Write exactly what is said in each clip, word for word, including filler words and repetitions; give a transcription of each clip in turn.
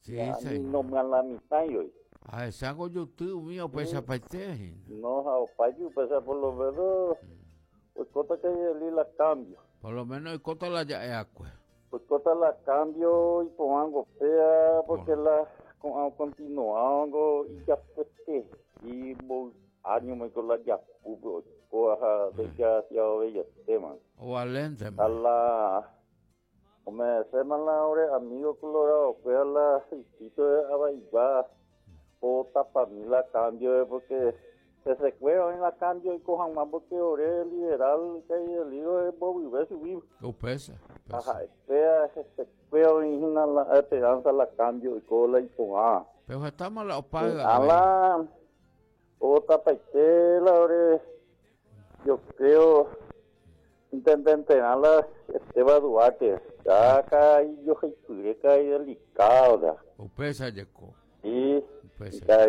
Sí, señor. No me la mitad hoy. A esa goyutu mío pesa paite. No, a opayu pesa por lo menos. Pues cota que la cambio. Por lo menos el cota la ya es agua. Pues cota la cambio y pongo fea porque la continuando y ya pues y voy año me con la ya coja de ya ya tema. O valente. A la o me se la ore amigo colorado fue a la sitio de Abaibá o tapamila cambio porque se secueva en la cambio y cojan más porque ore liberal que el libro de Bobby subir. O pesa. Ajá, espera, se secueva y la esperanza la cambio y cola y ponga. Pero estamos la opaga. A la otra paitela ore yo creo intendente a la Esteban Duarte. Ya acá y yo soy y delicado. O pesa llegó. Sí. La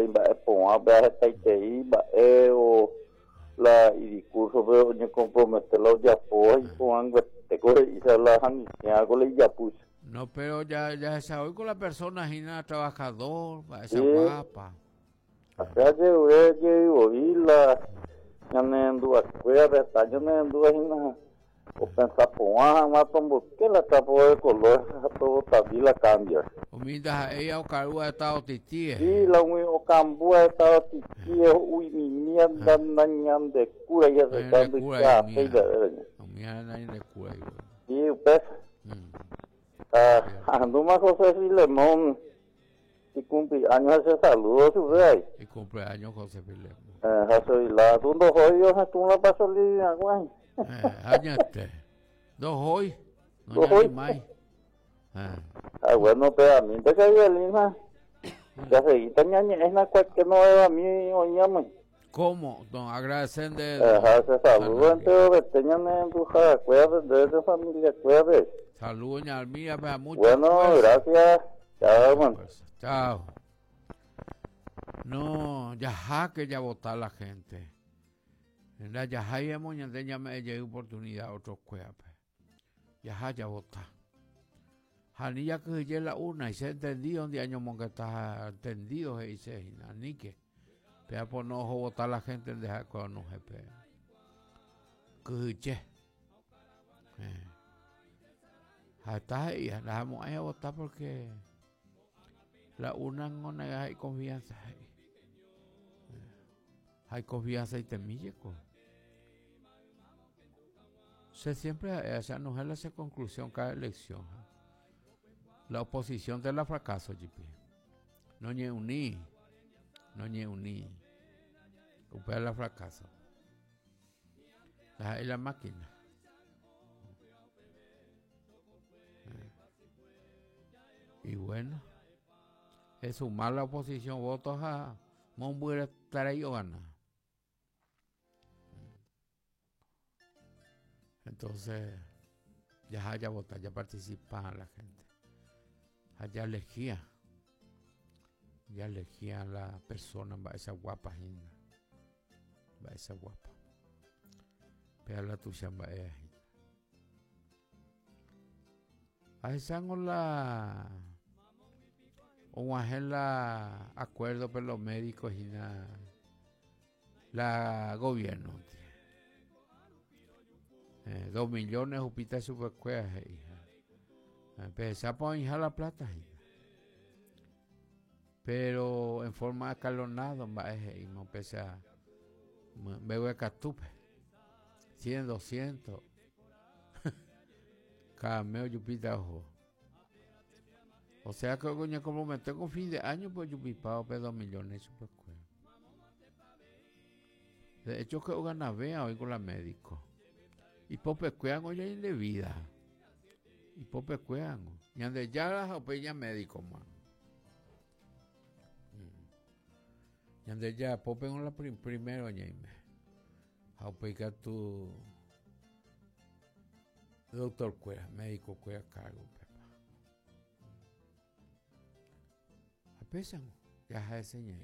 y discurso pero yo comprometerlo ya pues y con y se la con ya puse. No, pero ya ya se hoy con la persona gina trabajador, esa guapa. Acá yo yo y la ya me anduve cueva, yo me anduve gina o pensar poa más tombo que la tapo de color todo también la cambia. Humilda ella o carúa estado tití. Sí, la ui o cambúa estado tití, uy mi mierda nañan de cura ya se cambia ya feida de. Mierda nañan de cura. Sí, pues. Ah, anduma José Filemón y cumpleaños ese saludo su rey. Y cumpleaños José Filemón. Eh, José Filemón, tú no hoy yo tú no pasó ni agua. Eh, añate. Dos hoy. No dos hoy. Más. Ah. Ah, bueno, pero a mí te caí lina. Ya seguí ñaña, es la cual que no es a mí oñame. ¿Cómo? Don agradecen de ajá, se saludo entre beteñame en tu ja, cuídate de tu familia, cuídate. Saludos, doña Almira, pues, mucho. Bueno, fuerza. Gracias. Chao, bueno. Chao. No, ya ja que ya votar la gente. En la ya ya moña me llegué oportunidad otros cuerpos. Ya ya vota. Janilla que se la una y se entendido donde año monga está entendido se dice anique. Pero por no votar la gente en dejar con no jefe. Que eh. Hasta ahí la vamos a votar porque la una no hay confianza. Hay confianza y temilleco. Se siempre esa no es la conclusión cada elección. La oposición de la fracaso, G P. No ñe uní, no ñe uní. Upea la fracaso. La es la máquina. Y bueno, es sumar la oposición votos a Mombuera Tarayona. Entonces, ya haya votado, ya participa la gente. Allá elegía, ya elegía a la persona, va esa guapa, va esa guapa. Pero la tuya va ella. A la o la acuerdo por los médicos y la, la gobierno. Eh, dos millones upita su hija. Empezó a hinchar la plata, hija. Pero en forma escalonada, va y no empieza me voy a catupe. cien, doscientos. Cada mes yupita ojo. O sea que coño, como me tengo fin de año, pues yupipao pe dos millones pues. De hecho que gana vea hoy con la médico. Y pope cuean hoy de vida. Y pope cuean. Y ande ya las opeña médico, man. Y ande ya pope con la prim, primero ñeime. Jaupeca tu doctor cuera, médico cuera cargo, pepa. Apesan, ya se enseña.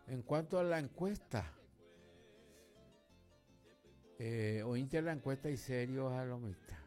En cuanto a la encuesta, eh, oíste la encuesta y serio a lo mitad.